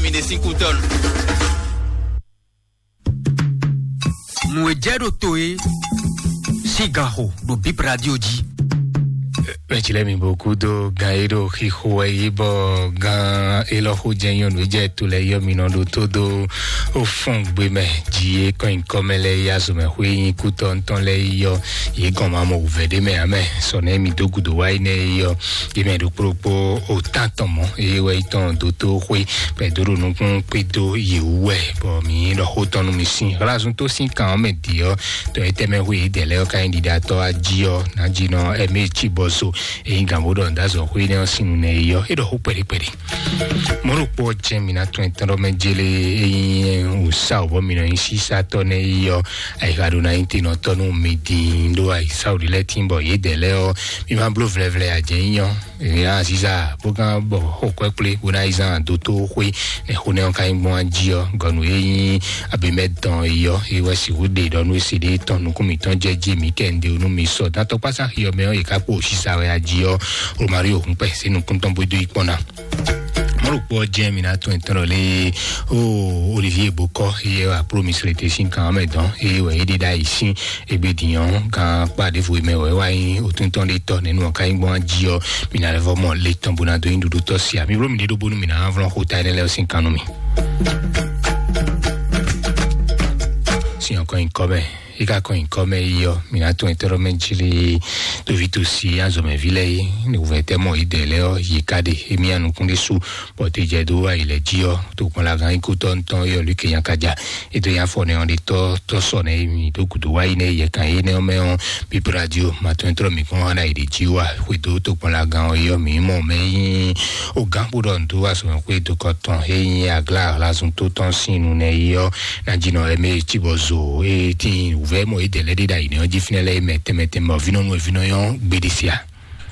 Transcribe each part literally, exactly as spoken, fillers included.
Mi ɖe sín kú tɔn. Nǔ e jɛ ɖo to é sín ganxo ɖo Bip Radio jí. Mɛtsi lɛ mi bo kúdó gan e ɖo xixo wɛ yi bɔ gan élɔ́ xó jɛ nyɔnu e jɛ to lɛ yɔ mi nɔ ɖo tó dó ó fɔn gbe mɛ jí é kɔn nyikɔ mɛ lɛ yi azɔmɛ xwé nyi kútɔ ŋutɔn lɛ yi yɔ yě gɔn ma mɔ wǔvɛ́ ɖé mɛ amɛ sɔ nɛ mi dó gudo wá yi nɛ yi yɔ yě mɛ ɖokpó ɖokpó ó tán tɔn mɔ eye wɛ yi tɔn dó tó xwé bɔ è dó ɖo nukún kpé dó yě wú wɛ bɔ mǐ ɖɔ xó tɔn nú mi sín hlazu tó sín kan ɔ́ mɛ dǐ ɔ́ tɔ e tɛmɛ hu yědɛɛ lɛ́ɛ ɔ́ ka nyí ɖiɖatɔ́ ají ɔ́ nǎjínɔ ɛmɛ cí bɔ so èyí gǎn bó ɖɔ nǔdázɔ xwé nɛ́ ɔ́ sín nu nɛ é yɔ é ɖɔ xó kpɛɖikpɛɖi. Mɔ̌ ɖokpó ɔ́ jɛ́n mǐ ná tɔn etɔ́ ɖɔ mɛ jélé ényí wǔsá ɔ́ bɔ mǐ nɔ nyí sísátɔ́ nɛ́ é yɔ ayixa ɖo ná nyí tenɔtɔ́ nú mi dín ɖó ayisáwǔɖí lɛ́ɛ tín bɔ yědɛɛ lɛ́ɛ ɔ́ mí má bló vlɛvlɛ ajɛ̌nyínyɔ́. Ìyá Aziza bó gán bɔ xó kwɛ́ kplé bó ná yi zán dótóxwé nɛ xó nɛ́ ɔ́ ka nyí gbɔn jí ɔ́ gɔnu e nyí abimɛ dɔn yi ɔ́ e wɛ sixú ɖe ɖɔ nú e se ɖe tɔn nukún mǐtɔn jɛ jí mǐ kɛ un ɖe nú mi sɔ dán tɔkpásá xi ɔ́ mɛ ɔ́ e ká kpo sísa wɛ a jí ɔ́ Romario hun kpɛ sí nukún tɔn bó dó yi kpɔ́n ná. Mɔ̌ ɖokpó ɔ́ jɛ́n mi ná tún ɛtɔ́ lé ó Olivier Bokɔ eye wà promise le te sín kan ɔ́ mɛ dɔn eye wɛ é ɖe ɖ'ayǐ sín egbe dǐn ɔ́ kan kpá ɖěvo e mɛ wɛ wá nyí òtúntɔn ɖé tɔ́ nɛ́ nú ɔ́ ka nyí gbɔn jí ɔ́ mi ná lɛ́ vɔ mɔ le tɔn bó ná dó nyí ɖuɖu tɔ́ sia mi bló mi ɖé ɖó bónú mi ná vlɔ́n xó ta énɛ́ lɛ́ɛ ɔ́ sín kan nú mi. Sin ɔkɔ nyi kɔ mɛ yi ka kɔ nyi kɔ mɛ yi ɔ́ mi ná tún ɛtɔ́ mɛ jí lé tóví tó si azɔmɛví lɛ́ɛ yi nǔvɛ́tɛ́ mɔ yi dɛ lɛ́ɛ ɔ́ yi ka ɖe émí anukún ɖé sú bɔ te jɛ dó ayi lɛ jí ɔ́ tó kpɔn la gán ikú tɔn tɔn yɔ lukè yan ka ja e dó yan fɔ nɛ ɔn ɖe tɔ tɔ sɔ nɛ mi dó gudo wa yi nɛ yɛ kan yi nɛ mɛ ɔn bíbí radio ma tɔn trɔ mi kɔn hana yi ɖe jí wa xwe dó tó kpɔn la gán ɔ́ yɔ mi mɔ mɛ yi o gán kpo ɖɔ ntó wa sɔmɛ xwe dó kɔ tɔn he yi agla hlasun tó tɔn sín nu nɛ yi ɔ́ na jí nɔ ɛmɛ tí bɔ zo e tí wúvɛ mɔ e dɛ lɛ ɖe ɖa yi nɛ ɔ́ jí fínɛ lɛ mɛ tɛmɛ tɛmɛ ɔ́ vínɔ nú ɛ vínɔ yɔn gbéɖé sia.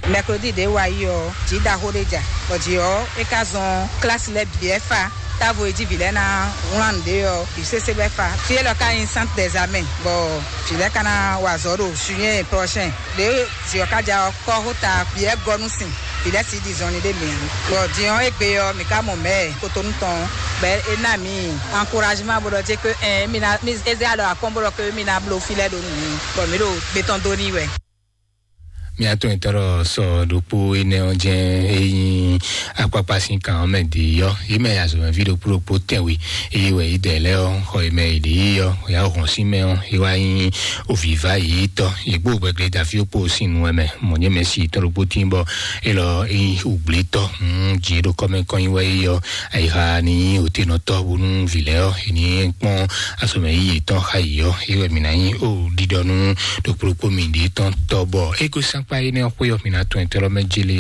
Mercredi ɖě wa yi ɔ́, jǐ ɖaxó ɖé ja, bɔ jǐ ɔ́, é ka zɔn klasi lɛ́ɛ bǐ wɛ fa. Távo e jí vǐ lɛ́ɛ ná wlán nǔɖé ɔ́, bǐ sésé bɛ́ fa. Fí élɔ́ ka nyí Centre des Amens, bɔ vǐ lɛ́ɛ ka ná wa azɔ̌ ɖo juillet prochain. Ɖě jǐ ɔ́ ka ja ɔ́, kɔ́xota bǐ wɛ gɔ́ nú sin, vǐ lɛ́ɛ sixú ɖi zɔnlin ɖé mǐ ǎ. Bɔ din ɔ́, égbé ɔ́, mǐ ka mɔ mɛ̌ Kotonu tɔn, bɔ é ná mǐ encouragement bó ɖɔ jé que ɛn, mí ná mí é zé alɔ akɔ́n bó ɖɔ que mí ná bló fí lɛ́ɛ ɖó nǔ, bɔ mǐ ɖo gbé tɔn dó n'i wɛ. Mía tɔn etɔ́ ɖɔ sɔ ɖokpó énɛ́ ɔ́ jɛ́n é nyí akpákpá sín kan ɔ́ mɛ dě yɔ. Yě mɛ azɔ̌mɛví ɖokpó ɖokpó tɛnwe, eye wɛ yě dɛ lɛ́ɛ ɔ́, xɔ yě mɛ yě ɖě yɔ, yà hɔn sín mɛ ɔ́, é wá nyí òvǐvá yě tɔ́. Yě kpó gbɛgbɛ dafí kpó sín nu wɛ mɛ, mɔ̌ nyɛ mɛ si tɔ́ ɖokpó tín bɔ é lɔ é nyí ùgblítɔ́. Jǐ ɖo kɔ́mɛ kɔn nyi wɛ é yɔ, ayixa ni nyí òtenɔtɔ́ bónú vǐ lɛ́ɛ ɔ́, è ní kpɔ́n azɔ̌mɛ yíyí yětɔn xa yě ɔ́, é wɛ mǐ ná nyí ó ɖiɖɔ nú ɖokpó ɖokpó mǐɖée tɔn tɔ́ bɔ é ko sɛ́nkpá énɛ́ ɔ́ xwé ɔ́, mǐ ná tɔn ɛtɛ́ lɔ́ mɛ jélé.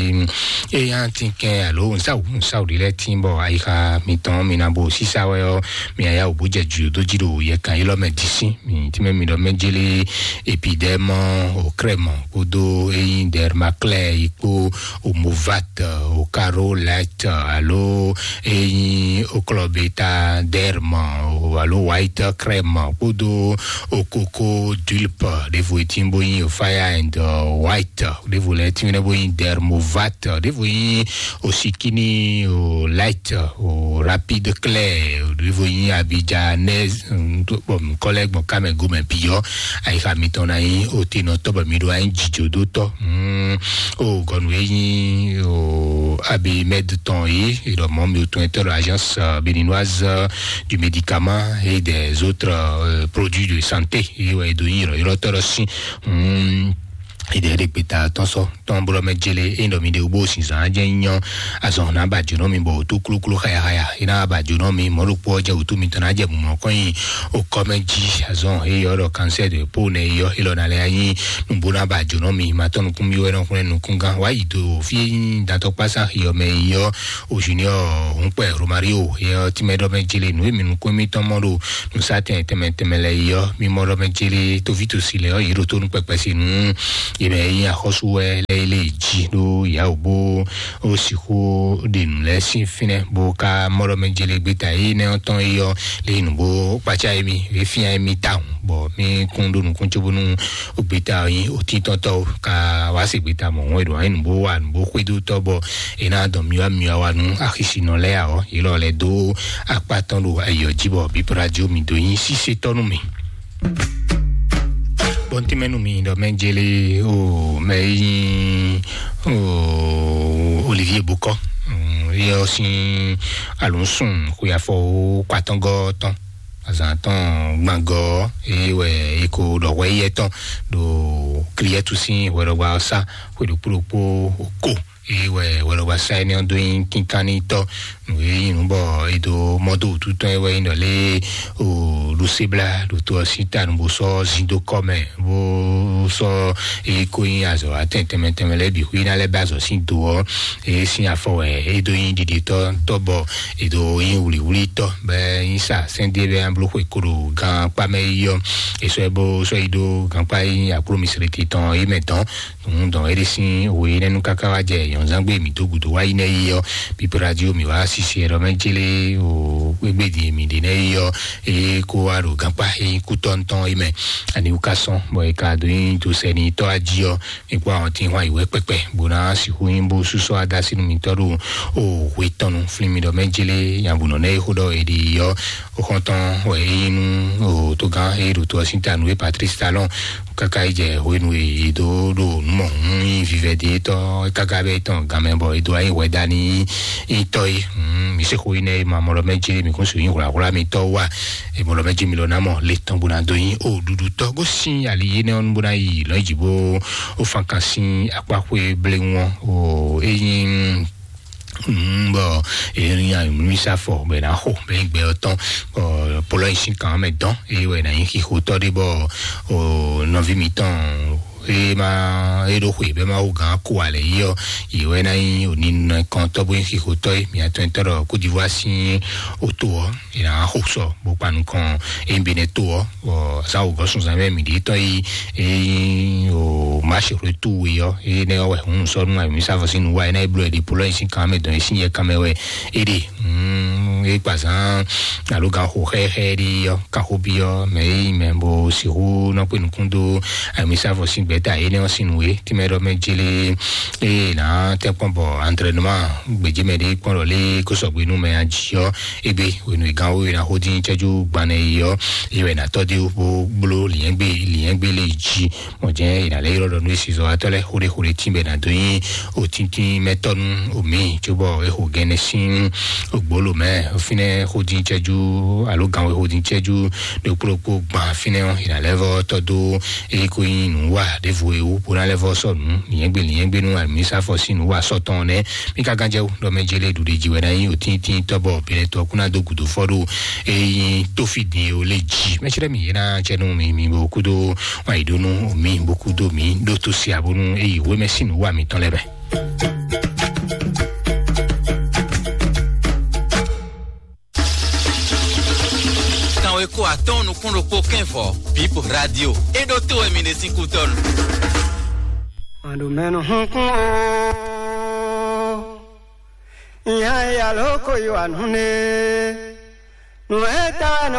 Ényí a tín kɛn alo nǔsáwǔ nǔsáwǔ ɖé lɛ́ɛ tín bɔ ayixa mitɔn mǐ ná bo sísá wɛ ɔ́, mǐ ná yá wǔ bó jɛ jǔ dó jí ɖo yɛkan élɔ́ mɛ dísín. Mǐ tínmɛ mǐ ɖɔ mɛ jélé epidɛmɔ, okrɛmɔ kpódó ényí dɛrmaklɛ yi kpó, omovat, okarolɛt alo ényí oklɔbeta dɛrmɔ alo white krɛmɔ kpódó okoko dulp ɖěvo e tín bó nyí ofaya and white ɖěvo lɛ́ɛ tín bó nyí dɛrmovat ɖěvo nyí osikini o light o rapide clair ɖěvo nyí abijanɛz kɔlɛ gbɔn kamɛ gomɛ biyɔ ayixa mitɔn na nyí otenɔtɔ bɔ mi ɖo anyi dzidzodotɔ. O gɔnu e nyí o abimed tɔn yi ìrɔmɔ mi o tún ɛtɔ ɖo agence béninoise du médicament et des autres produits de santé yi wɛ do nyí ìrɔyɔrɔtɔ ɖɔ sí. Ìdè ɖe gbeta tɔn sɔ tɔn blo mɛ jele e ɖɔ mi ɖe wo bo sin zan jɛ nyɔ azɔn na ba jo nɔ mi bɔ o to kloklo xaya xaya e na ba jo nɔ mi mɔ ɖokpɔ jɛ o to mi tɔn na jɛ mumɔ kɔn yi o kɔmɛ ji azɔn e yɔ ɖɔ cancer de peau ne yɔ e lɔ na lɛ anyi nubo na ba jo nɔ mi ma tɔn nukun mi wɛ nɔ kun nukun gan wa yi do fi e nyi datɔ kpasa yɔ mɛ yɔ o junior hunkpɛ romario yɔ timɛ ɖɔ mɛ jele nu e mi nukun mi tɔn mɔ ɖo nusatɛn tɛmɛ tɛmɛ lɛ yɔ mi mɔ ɖɔ mɛ jele tovi to si lɛ yɔ yi ɖo to nu kpɛkpɛ si nu Yě mɛ e nyí axɔ́sú wɛ lɛ́ɛ lé jí ɖó yǎwǔ bó ó sixú ɖe nǔ lɛ́ɛ sín fínɛ́ bó ka mɔ ɖɔ mɛ jele gbeta énɛ́ ɔ́ tɔn é ɔ́ lé nǔ bó kpacá émí, é fían émí tawun, bɔ mí kún ɖó nukún cóbónú gbeta ɔ́ nyí òtíntɔ́tɔ́ ka wá se gbeta mɔ̌hún e ɖo anyi nǔ bó wa nǔ bó xwedó tɔ́ bɔ é ná dɔn myɔ́amyɔ́a wa nú axisinɔ lɛ́ɛ ǎ ɔ́, yě lɔ lɛ́ dó akpá tɔn ɖo ayǐ ɔ́ jí bɔ bíblá jí omi dó nyí sísétɔ́ nú mì. Bɔntɛmɛnu mi ɖɔ mɛ jele o mɛ yi o Olivier Bokɔ, yɛ ɔ sin alonsun xuyafɔ o kwatɔngɔ tɔn azan tɔn gbangɔ eye wɛ eko ɖɔ hwɛ yɛ tɔn ɖo Kriɛtu sin hwɛɖɔgba ɔsa hwe ɖokpo ɖokpo ko eye wɛ hwɛɖɔgba sa ɛnɛ ɔn do nyi kinkanni tɔ nǔ e nyí nǔ bɔ e do mɔ dó wǔtu tɔn e wɛ nyí ɖɔ lé o ɖo sebla ɖo to ɔ́ sín ta nǔ bó sɔ́ zin dó kɔ mɛ bó sɔ́ e ko nyí azɔ̌ atɛn tɛnmɛ tɛnmɛ lɛ́ɛ bǐ xwí ná lɛ́ bɛ azɔ̌ sín do ɔ́ e sín afɔ wɛ e dó nyí ɖiɖitɔ́ tɔ́ bɔ e dó nyí wlǐwlítɔ́ bɛ nyí sa sɛ́ndé bɛ bló xwe ko ɖo gan kpá mɛ yi ɔ́ e sɔ́ ɛ bó sɔ́ yi ɖó gankpá yi akló misriti tɔn yi mɛ dɔn. Nǔ dɔn é ɖe sín we énɛ́ nú káká wá jɛ yɔ̌nzángbe mǐ dó gǔdo wá yi nɛ́ yi ɔ́, bíbí radio mǐ wá sisi ɛɖɔ mɛ jélé o gbégbé din mǐ ɖe nɛ́ yi ɔ́, é kó wá ɖo gankpá é nyí kútɔ́ ntɔn é mɛ. Ani wú ká sɔn bɔ é ka dó nyí dó sɛ ni tɔ́ ají ɔ́, é kó àwọn tí hwan ìwé kpɛkpɛ bó ná sixú nyí bó súsɔ adásínú mǐtɔn ɖo o hwe tɔn nu flín mi ɖɔ mɛ jélé nyabunɔ nɛ́ é xó ɖɔ é ɖi yi ɔ́, ó xɔ́ntɔn wɛ é nyí nú o tógán é ɖo to ɔ́ sín ta nú é Patrice Talon. Kaka yi jɛ hwenu e yě dó ɖo nǔ mɔ hún nyi vivɛdetɔ́ káká bɛ tɔn ganmɛ bɔ è dó ayi hwɛ dá ní nyitɔ́ é. Mǐ se xó yi nɛ é ma mɔ ɖɔ mɛ jí mǐ kún su nyi hwlǎhwlá mitɔ́ wa. È mɔ ɖɔ mɛ jí mi lɔ ná mɔ le tɔn bó ná dó nyi o ɖuɖu tɔ́ gosín ali yé nɛ ɔ́ bó ná yi lɔ̌ yi jǐ bó ó fan kan sín akpáxwé bléwɔn o é nyí Mm, bɔ èyí ni anyǔmísá fɔ bɛ ná xo bɛ gbɛ ɔtɔn bɔ polɔ yi sín kan mɛ dɔn èyí wɛ ná nyí xixotɔ ɖé bɔ o nɔví mǐtɔn e ma e ɖo xwe bɛ ma wo gán ko alɛ yi ɔ yi wɛ ná nyí òní nɔ kɔntɔ bó nyí xixotɔ yi mǐatɔn tɔ ɖɔ Côte d'Ivoire sín oto ɔ yi ná xo sɔ bó kpa nukɔn e Bénin to ɔ bɔ zan wǒ gɔ́ sunzan mɛ mǐ ɖi tɔn yi e nyí o marché retour we ɔ e nɛ ɔ wɛ hun sɔ nu ayɔmísá fɔ sín nu wa e ná e bló ɛ ɖi polɔ yi sín kan mɛ dɔn yi sín yɛ kan mɛ wɛ e ɖe mm, e kpa zan alo gan xo xɛxɛ ɖi ɔ kan xo bi ɔ mɛ e yi mɛ bo sixú nɔ kpe nukún dó ayɔmísá fɔ sín gbɛta e nɛ ɔ sín nu e tí mɛ ɖɔ mɛ jele e ná tɛ kpɔn bɔ entraînement gbèjì mɛ ɖe kpɔn lɔ lé kó sɔgbe nú mɛ ají ɔ egbe wenu igan wo yina xó dín cɛjú gbanɛ yi ɔ eye wɛ natɔ de wo blo liɛngbe liɛngbe le jí mɔ jɛ yina lɛ yɔrɔ ɖɔ nu esi zɔ atɔ lɛ xóɖe xóɖe tí bɛ na do nyi o tíntín mɛtɔ nu o mi tso bɔ e xo gɛnɛ sín o gbolo mɛ o finɛ xó dín cɛjú alo gan wo xó dín cɛjú ɖo kplokplo gban finɛ ɔ yina lɛ vɔ tɔ do eye ko nyi nu wa ɖevo ewu bo na lɛ vɔ sɔ nu liɛngbe liɛngbe nu ami sa fɔ sí nu wa sɔ tɔn nɛ mi ka gan jɛ wo ɖɔ mɛ jele ɖuɖe ji wɛ na nyi o tíntín tɔ bɔ bɛlɛ tɔ kuna do gudo fɔ ɖo eyi tofi din o le ji mɛ tsi ɖe mi yena cɛ nu mi mi bo kudo wa yi ɖo nu mi bo kudo mi ɖo to si abonu eyi wemɛ si nu wa mi tɔn lɛ bɛ. Kanweko atɔn nukún ɖokpó kɛnvɔ Bip Radio. E ɖo to wɛ mi ɖe sín kútɔnu. Màɖó mɛnu hunkún o. Ìyá ìyá ló kó yí wà nú ne. Nù ɛ ta wɛ nɔ